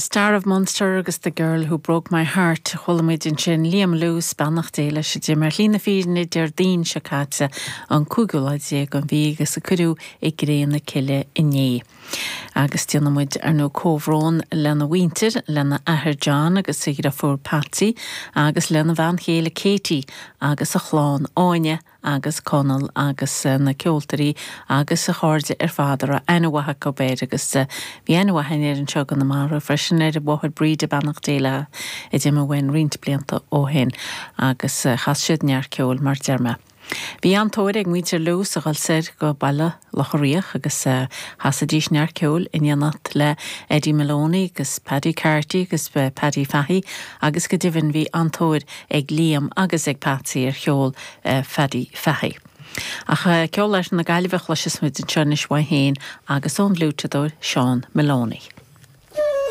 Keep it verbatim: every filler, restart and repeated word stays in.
Star of Munster agus The Girl Who Broke My Heart chuala muid ansin Liam Lewis beannacht Dé leis a d'imigh ar shlí na fírinne Déardaoin seo caite an cúigiú lá déag den mhí agus a cuireadh i gcré na cille inné. Agus déanaimid ar ndóigh comhbhrón lena mhuintir lena athair John agus a dheirfiúr Patsy agus lena bhean chéile Katie agus a chlann Áine agus Conall agus eh, na ceoltóirí agus a chairde ar fad a raibh aithne mhaith acu air agus eh, bhí aithne mhaith air anseo i gConamara freisin ar a mháthair Bríde beannacht Dé léi a d'imigh uainn roinnt blianta ó shin agus eh, chas siad neart ceoil mar deir mé. Bhí an-tóir ag muintir Lewis a dhul soir go Baile Locha Riach agus uh, chasaidís neart ceoil in éineacht le Eddie Maloney agus Paddy Carty agus uh, Paddy Fahey agus go deimhin bhí an-tóir ag Liam agus ag Patsy ar cheol uh, Paddy Fahey. Ach uh, ceol leis na Gaillimhe chloisfidh muid anseo anois uaidh féin agus ón bhfliúiteadóir Seán Maloney.